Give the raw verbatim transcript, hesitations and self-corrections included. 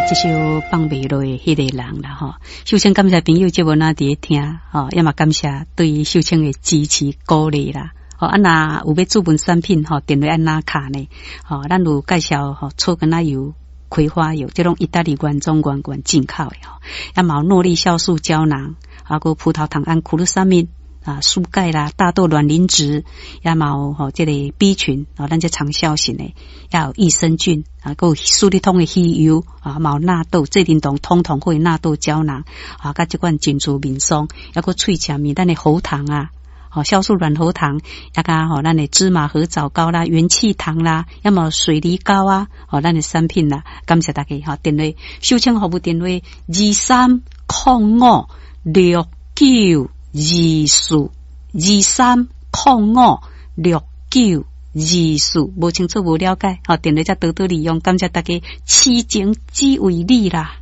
這首放袂落的彼個人啦吼。秀清感謝朋友節目若佇咧聽，吼，也嘛感謝對秀清的支持鼓勵啦。吼，啊若有欲注文產品吼，電話按哪敲呢？吼，咱有介紹吼，草根仔油、葵花油，這攏意大利原裝原罐進口的吼。也嘛有諾麗酵素膠囊，啊，閣葡萄糖胺、苦魯沙米啊、蘇鈣啦、大豆卵磷脂，也嘛有吼這個 B 群，哦，咱這長效型的，也有益生菌啊，閣有舒利通的魚油啊，嘛有納豆、濟靈酮、通通會納豆膠囊啊，佮這款珍珠面霜，抑閣喙齒面，咱的喉糖啊。吼，酵素軟喉糖，抑佮吼，咱的芝麻褐藻膏啦、元氣糖啦，抑嘛水梨膏啊，吼，咱的產品啦，感謝大家吼，電話秀清服務電話二三空五六九二四二三空五六九二四，無清楚無了解，吼，電話才多多利用，感謝大家，痴情只為你啦。